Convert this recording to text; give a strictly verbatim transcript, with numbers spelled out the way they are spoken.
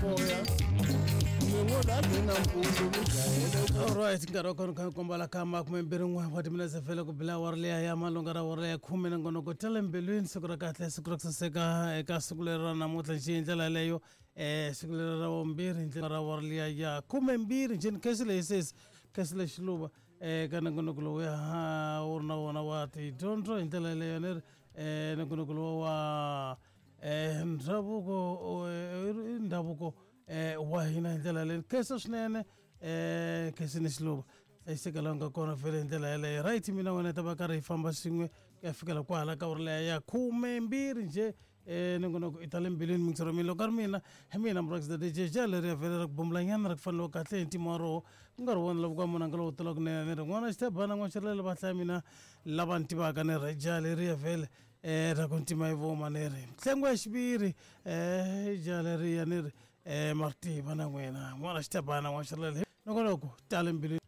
Moya mi ngo lagi nampundzu mi jahele. Alright, nkarhi wa kona kha kombala ka makume mbirhi n'we wa timinetse vhele ku bila awara liya ya malunga ra awara ya khume na ngonoko tale mbilwini. Siku ra kahle, siku ra ku saseka eka siku leri ra namuntlha njhe hi ndlela yeleyo, um siku leri ra vumbirhi hi ndlela ra awara liya ya khume mbirhi njhe ni khesi leyi sesi khesi leyi xiluva um ka nongonoko lowuya wu ri na wona wa tidyondzo hi ndlela yeleyo ni ri um nongonoko lowu wa um ndhavuko, eh, ndhavuko um wa hina hi ndlela yaleyo. Khensa swinene um khensini xiluva, hlayiseka laha u nga kona vhele hi ndlela yaleyo. Right, mina wena hi ta va karhi hi famba swin'we ku ya fikela kwahala ka uri leya ya khume mbirhi njhe. um nongonoko i ta le mbilwini mingisero mina loko ka ri mina hi mina Mbrax the D J ja leriya vhele ra ku bumbulanyana ra ku faneliwa kahle hi ntima wa roho ku nga ri wona lava ka munhu a nga lowu tula kunene ni ri n'wana xithebana n'wana xirilele va hlaya mina lava ni tivaka ni ri ja leriya vhele um ra ku ntima yi voma ni ri nhlengo ya xiviri um ja leriya ni ri um ma ri tiva na n'wina n'wana xithebana n'wana xirilele nongonoko tale mbilwini.